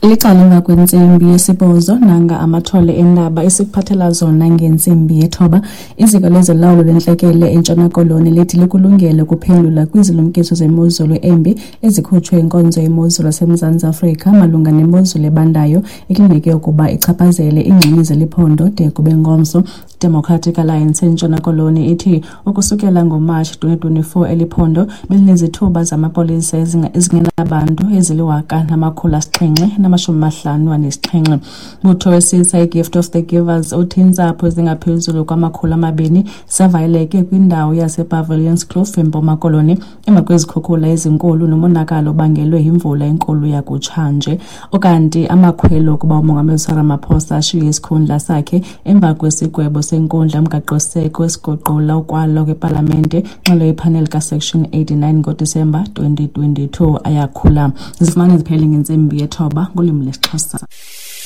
Licala emva kwentsimbi yesibhozo, nanga amathole endaba esikuphathela zona ngentsimbi yethoba. Iziko lezolawulo lwentlekele eNtshona Koloni lithi likulungele ukuphendula kwizilumkiso zemozulu embi ezikhutshwe yinkonzo yemozulu yaseMzantsi Afrika malunga nemozulu ebandayo ekulindeleke ukuba ichaphazele iingxenye zeliphondo de kube ngomso. Democratic Alliance eNtshona Koloni ithi ukusukela ngoMatshi 2024 eli phondo belinezithuba zamapolisa ezingenabantu ezili-1757. Mbutho wesisa iGift of the Givers uthi iintsapho ezingaphezulu kwama-200 zavaleleke kwindawo yasePavilionskloof eMpuma Koloni emva kwezikhukhula ezinkulu nomonakalo obangelwe yimvula enkulu yakutshanje. Ukanti amakhwelo okuba uMongameli Cyril Ramaphosa ashiye isikhundla sakhe emva kwesigwebo senkundla yomgaqosiseko esiguqula ukwalwa kwepalamente ngxelo yephaneli kaSection 89 ngoDisemba 2022 ayakhula. Zifumane ziphele ngentsimbi yethoba ngolwimi lwesiXhosa.